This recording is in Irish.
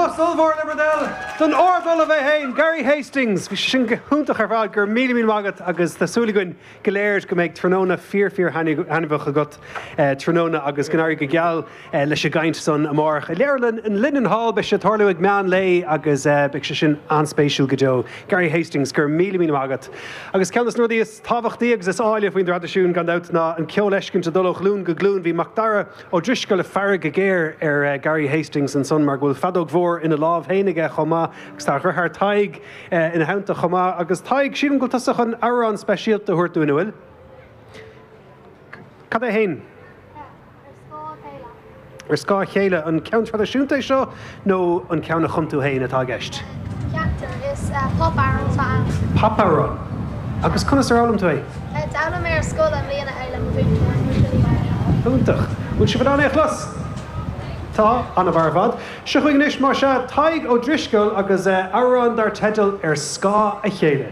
Bos ollmhór le bhur dtoil don Ard-Ollamh é féin, Gary Hastings! Bhí sé sin go hiontach ar fad, go raibh míle míle maith agat agus tá súil againn go léir go mbeidh tráthnóna fíor fíor thaitneamhach agat tráthnóna agus go n-éirí go geal leis an gcaint san amárach i Leabharlann an Linen Hall. Beidh sé ag tarlú ag meán lae agus beidh sé sin an-spéisiúil go deo. Gary Hastings, go raibh míle míle maith agat. Agus ceann de na rudaí is tábhachtaí agus is áille faoin dtraidisiún gan dabht ná an ceol a fheiscint ag dul ó ghlúin go glúin. Bhí Macdara Ó Drisceoil ag faire go géar ar Gary Hastings ansan mar go bhfuil feadóg mhór ina lámh féin aige chomh maith agus tá a dheartháir Tadhg ina theannta chomh maith. Agus Tadhg, sílim go bhfuil tusa chun amhrán speisialta a thabhairt dúinn, an bhfuil? Cad é fhéin? Ar scáth a chéile. Ar scáth a chéile. An ceann traidisiúnta é seo nó an ceann a chum tú féin atá i gceist? Ceaptar. Is pop-amhrán atá ann. Pop-amhrán. Agus conas ar fhoghlaim tú é? D'fhoghlaim mé ar scoil i mbliana é le mo mhúinteoir, Múinteoir Ní Mhaonaigh. Iontach. Bhfuil sibh in ann é a chlos? Tá. An-mhaith ar fad. Seo chugainn anois, más ea, Tadhg Ó Drisceoil agus amhrán dar teideal Ar Scáth a Chéile.